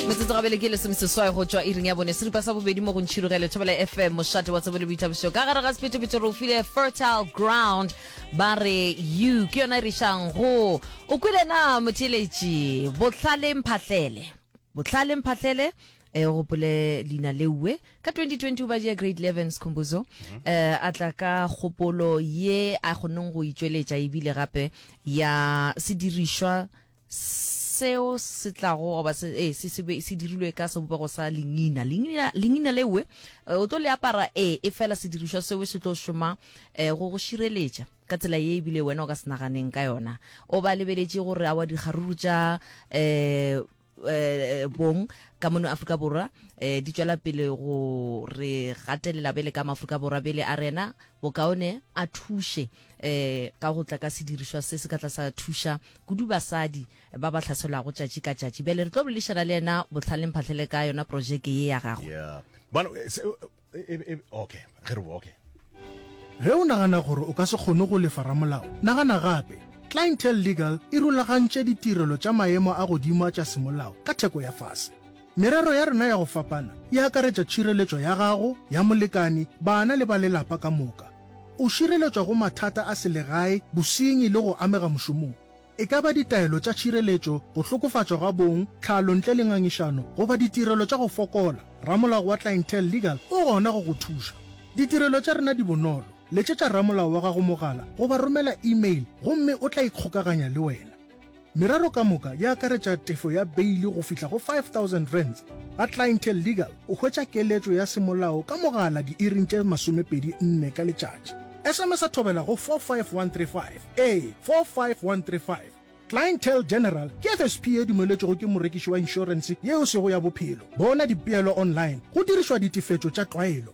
Metsotso gabele ke lesomeseswai go tšwa iring ya bone seripa sa bobedi mo go Ntšhirogele Thobela FM mošate wa tsebo le boithabišo ka gare ga sephethephethe re o file fertile ground ba re you ke yona e re išang go o kwele na motheeletši bohlale mphahlele bohlale mphahlele e o gopole leina leuwe ka 2020 o badie grade 11 Skhumbuzo eh a tla ka kgopolo ye a kgonneng go itšweletša ebile gape ya sedirišwa Seo se tlago goba se, ee, se, se be se dirilwe ka sebopego sa lengina. Lengina, lengina lewe eh, o tlo le apara, ee, efela sedirišwa seo se tlo šoma eh, go go šireletša ka tsela ye ebile wena o ka se naganeng ka yona. O ba lebeletše gore awa dikgaruru tša eh, eh, bong ka mono Afrika Borwa eh, di tšwela pele go re gatelela bele ka Maafrika Borwa bele a rena bokaone a thuše eh, ka go tla ka sedirišwa se se ka tla sa thuša kudu basadi ba ba hlaselwago tšatši ka tšatši. Bjale re tlo boledišana le yena Bohlale Mphahlele ka yona projeke ye ya gagwe. Yeah. Bana, eh, se, eh, eh, eh, okay, ge re okay. Ge o nagana gore o ka se kgone go lefa ramolao, nagana gape. Clientele Legal e rulagantše ditirelo tša maemo a godimo a tša semolao ka theko ya fase. Merero ya rena ya go fapana e akaretša tšhireletšo ya gago, ya molekani, bana le ba lelapa ka moka. O šireletšwa go mathata a selegae, bosenyi le go amega mošomong. E ka ba ditaelo tša tšhireletšo, go hlokofatšwa ga bong, tlhalo ntle le ngangišano, goba ditirelo tša go fokola, ramolao wa Clientele Legal o gona go go thuša. Ditirelo tša rena di bonolo, letšetša ramolao wa gago mogala goba romela email gomme o tla ikgokaganya le wena. Merero ka moka e akaretša tefo ya beili go fihla go R5000. Ga Clientele Legal o hwetša keletšo ya semolao ka mogala diiring tše 24 ka letšatši. SMS-a thobela go 45135. Ee, 45135. Clientele General ke FSP ye dumeletšwego ke morekiši wa inšorense ye e sego ya bophelo. Bona dipeelo online go dirišwa ditefetšo tša tlwaelo.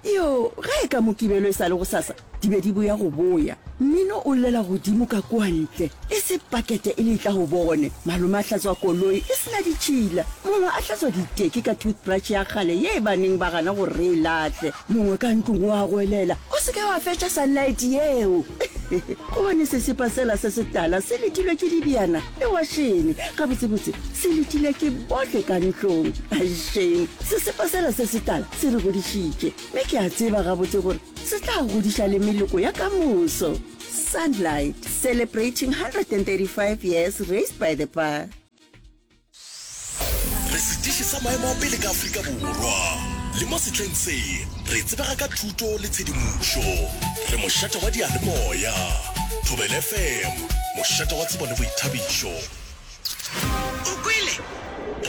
Yo, ge e ka Mokibelo e sa le gosasa, di be di boya go boya. Mmino o llela godimo ka kua ntle, e se pakete e le e tla go bone. Malome a hlatswa koloi e se na ditšhila, mongwe a hlatswa diteki ka toothbrush ya kgale ye ba neng ba gana gore re e lahle. Mongwe ka ntlong o a goelela, O se ke wa fetša sunlight yeo! Gobane sesepa sela se setala se letilwe ke dibjana le wašene. Gabotsebotse, se letilwe ke bohle ka ntlong. Shame, sesepa sela se setala se re godišitše, mme ke a tseba gabotse gore se tla godiša le meloko ya ka moso. Sunlight, celebrating 135 years raised by the bar. Re setiši sa maemo a pele ka Afrika Borwa. Le mo sehleng se, re tsebega ka thuto le tshedimošo. Re mošate wa diyalemoya. Thobela FM, mošate wa tsebo le boithabišo. O kwele?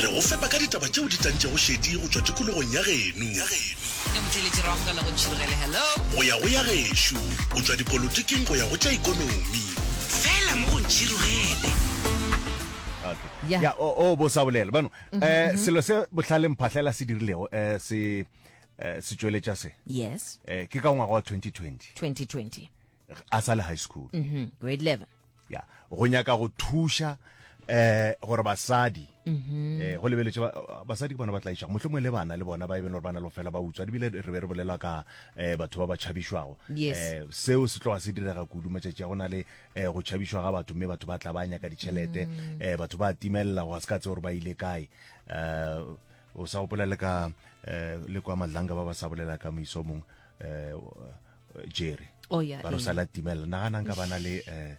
Re go fepa ka ditaba tšeo di tantšego šedi go tšwa tikologong ya geno. Ke motheeletši re amogela go Ntšhirogele. Hello. Go ya go ya gešo, go tšwa dipolotiking go ya go tša ikonomi. Fela mo go Ntšhirogele. Okay. Yeah. Ya, o, o bo sa bolela. Bano, eh, selo se bohlale mphahlela se dirilego, eh, se, eh, se tšweletša se. Yes. Eh, ke ka ngwaga wa 2020. 2020. A sa le high school. Mhm. Grade 11. Ya, go nyaka go thuša eh gore basadi Mhm. eh go lebeletše ba- basadi ke bona ba tlaišago mohlomongwe le bana le bona ba e beng gore ba na le go fela ba utswa ebile re be re bolela ka eh batho ba ba tšhabišwago Yes. eh seo se tloga se direga kudu matšatši a go na le eh go tšhabišwa ga batho mme batho ba tla ba nyaka ditšhelete Mm. eh batho ba timelela go se ka tse gore ba ile kae eh o sa gopola le ka eh le kwa madlanga ba ba sa bolela ka moiso mongwe eh Jerry Oh, yeah, ba re o ee. sa la timelela naganang ka bana le eh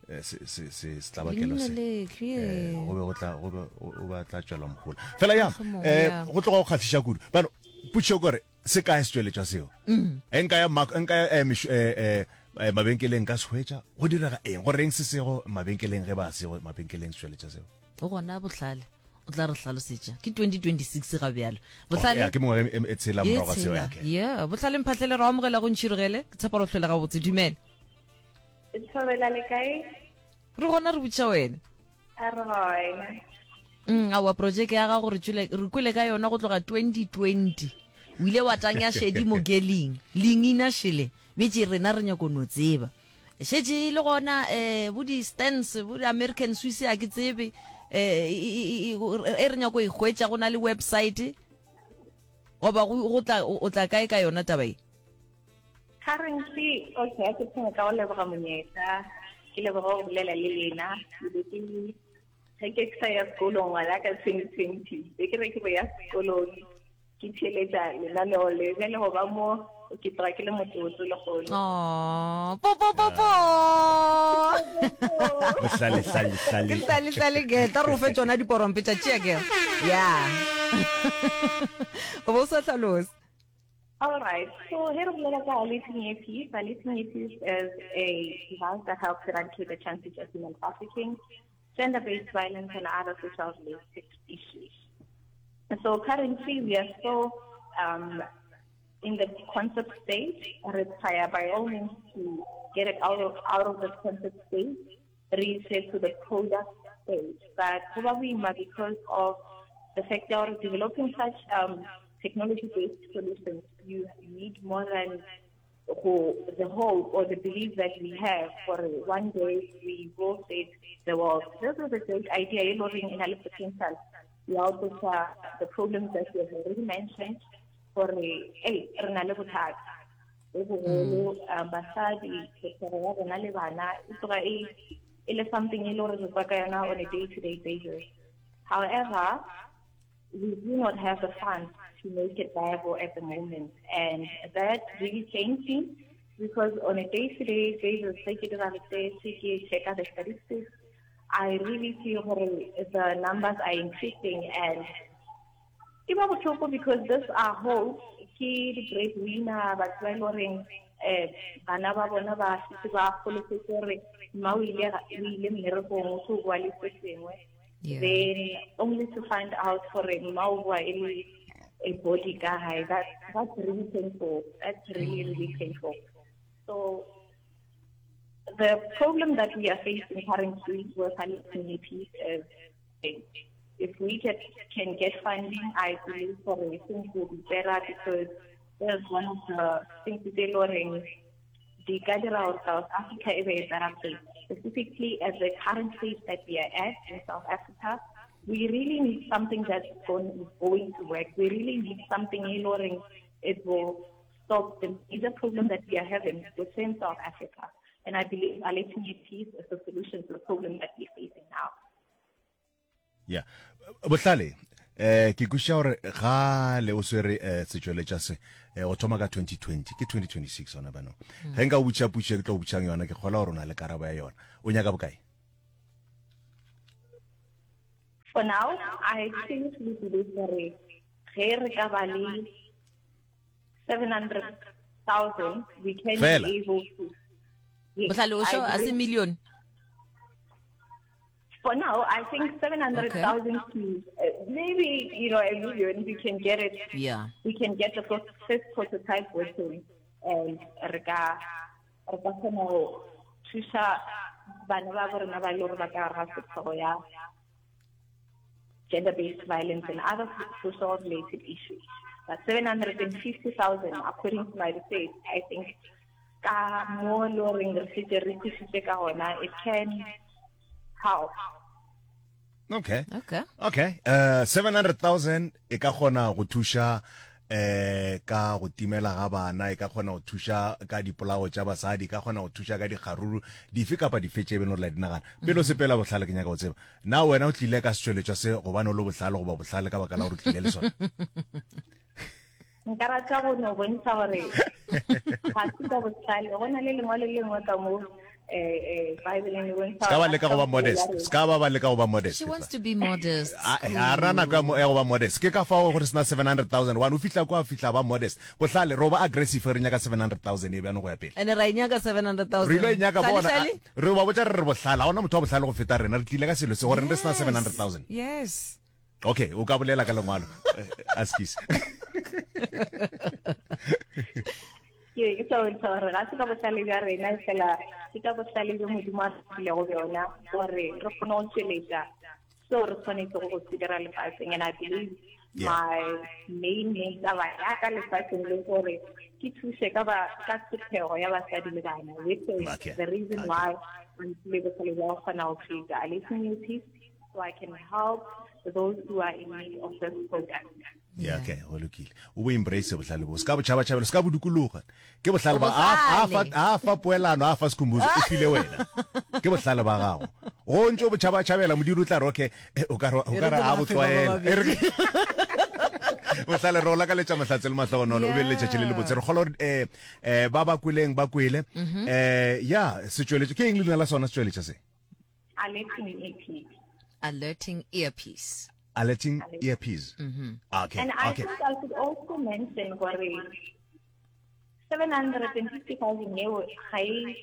eh, se se se setlabakelo Leina se le, clear. eh go be go tla go be o ba tla tšwela mohola fela ya Mohlomong, eh yeah. go tloga go kgahliša kudu bano potšišo kore se kae setšweletšwa seo Mm. e nka ya mak- nka ya eh, meš- eh, eh, eh, mabenkeleng ka se hwetša go direga eng go reng se sego mabenkeleng ge ba sego mabenkeleng setšweletša seo O gona bohlale o tla re hlalosetša ke 2026 ga bjalo bohlale ya ke mengwaga e tshela Ye morago ga seo tshela. okay. yeah bohlale mphahlele re amogela go ntšhirogele ke tshepa re hlwele gabotse dumela Thobela le kae? re gona re botša wena A re gona. Mm, aowa projeke ya gago re tšwele re kwele ka yona go tloga 2020 o ile wa tanya šedi mo geling lengina šele betše rena re nyako no tseba Šetše e le gona um bo di-stands bo di-American Swiss a ke tsebe um e re nyako e hwetša go na le website goba go tla o tla kae ka yona taba e? Currently, okay, a ke thome ka go leboga monyetla, ke leboga go bolela le lena. Ke be ke. Ge ke sa ya sekolong ngwana ka 2020, be ke re ke bo ya sekolong ke theeletša lenaneo le bjale go ba mo ke tloga ke le motlotlo lehono. Oh, po po po po. Bohlale hlale hlale. Ke hlale hlale ke tla re o fe tšona diporompe tša tšea ke. Yeah. O bo sa hlalosa. All right. So here we are Baleting Earpiece. Baleting Earpiece is a device that helps eradicate the chances of human trafficking, gender-based violence, and other social related issues. So currently we are still um, in the concept stage. Require by all means to get it out of, out of the concept stage, reach it to the product stage. But probably because of the fact that we're developing such um, technology-based solutions, you need more than the hope or the belief that we have for one day we will save the world. This is a great idea, e in a potential. Ya go tlosa the problems that we have already mentioned gore ei re na le bothata bo bogolo um, basadi tlhotlhego ya rona le bana e tloga e e le something e le gore re kwa ka yona on a day to day basis however we do not have the funds to make it viable at the moment and that really changed me because on a day to day basis ge ke dira research ke checka the statistics I really feel gore the numbers are increasing and e ba botlhoko because this are hope ke di-breadwinner batho ba e le goreng um bana ba bona ba setse ba golofetse gore mma o ile mmerekong o tlo boa le se sengwe then only to find out gore mma o boa e le a body ka gae that, that's really painful that's really really painful so the problem that we are facing currently with our communities is if we get, can get funding, I believe for things will be better because that's one of the things that they learning. The of South Africa is a better place. Specifically at the current stage that we are at in South Africa, we really need something that's going, going to work. We really need something in order it will stop the major problem that we are having within South Africa. And I believe Alethini Peace is the solution to the problem that we're facing now. Yeah. Bohlale, eh ke kwešiša gore ga le o swere eh, setšweletša se eh, o thoma ka 2020 ke 2026 gona bano hmm. ge nka o botša potšo ke tlo o botšang yona ke kgola gore o na le karabo ya yona o nyaka bokae for now i seriously believe gore ge re ka ba le 700,000 we can be able to yes, bohlale o sho a se million For now, I think 700,000 okay. to uh, maybe, you know, a million, we can get it. Yeah. We can get the first, first prototype working and re ka re ka kgona go thusa bana ba bo rena ba le gore ba ka ga setlhogo ya gender-based violence and other social related issues. But 750,000, according to my research, I think ka mo le goreng re setse re thusitse ka gona it can help okay okay okay uh 700000 e ka kgona go thuša eh ka go timela ga bana e ka kgona go thuša ka dipolao tša basadi e ka kgona go thuša ka dikgaruru dife kapa dife tše beno re la di nagana pele o sepela bohlale ke nyaka go tseba na wena o tlile ka setšweletšwa se gobane o le bohlale goba bohlale ka baka la gore o tlile le sona Nka rata go no bontsha gore ga se ka bohlale go na le lengwalo le lengwe ka mo eh, eh, Bible le bontsha se ka ba leka go ba modest se ka ba ba leka go ba modest She wants to be modest. a ra nako ya mo- ya go ba modest ke ka fao gore sena 700000 one o fihla kwa fihla ba modest bohlale ro ba aggressive re nyaka 700000 e bjano go ya pele And ra e nyaka 700,000. re ile e nyaka Hlale, bona hlale? re ba botša re re bohlale ga ona motho wa bohlale go feta rena re tlile ka selo se gore re sena 700000 Yes. Okay, o ka bolela ka lengwalo. Eh, askies. Ke ke sa bontsha gore ga se ka bohlale bja rena fela ke ka bohlale bjo Modimo a re filego bjona gore re kgone go tšweletša seo re tshwanetsego go se dira lefatsheng and I believe Yeah. my main main taba ya ka lefatsheng le gore ke thuse ka ba ka tlhophego ya basadi le bana which is Okay. the reason Okay. why re tlile bohlale bja go kgona go create a listening piece so I can help those who are in need of this product. Yeah, okay, go lokile. O bo embrace bohlale bo. Se ka botšhabatšhabela, se ka bo dukologa. Ke bohlale ba a a fa a fa poelano, a fa sekhumbuzo, o file wena. Ke bohlale ba gago. Go ntse o botšhabatšhabela, modiri o tla re okay, eh, o ka re o ka re a bo tlwaela. E re bohlale re o lakaletša mahlatse le mahlogonolo o be le letšatši le le botse re kgolwa gore eh eh ba ba kweleng ba kwele mhm. eh ya setšweletšo ke eng leina la sona setšweletša se alerting earpiece alerting earpiece alerting earpiece mm -hmm. okay and i okay. think i should also mention gore 750,000 eo ga e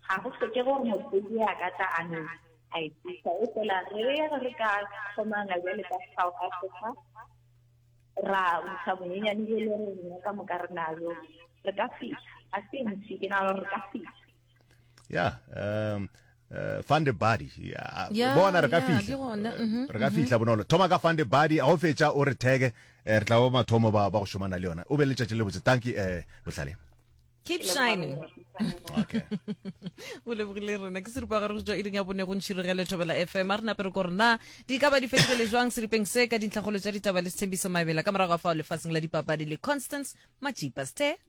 ga go tlhoke gore motho a ka tla a no a e tsisa e fela re re ka kgomana bjale ka South Africa ra ntsha bonyenyane bo le re rena ka moka re najo re ka fihla a se ntši ke nagana gore re ka fihla yeah um uh, fund a body yeah, yeah, bona re ka yeah, fihla mm-hmm, re ka mm-hmm. fihla bonolo thoma ka fund a body a o fetša o re thege eh, re tla ba mathomo ba ba go šomana le yona o be le letšatši le botse thank you eh bohlale keep shining okay o lebogile rena ke seripa gare go tswa iring ya bone go ntšhirogele thobela fm a re nape re ko rena di ka ba di fetogele jwang seripeng se ka dintlhakgolo tša ditaba le sethembiso mabela ka morago ga fao lefaseng la dipapadi le constance majipa ste.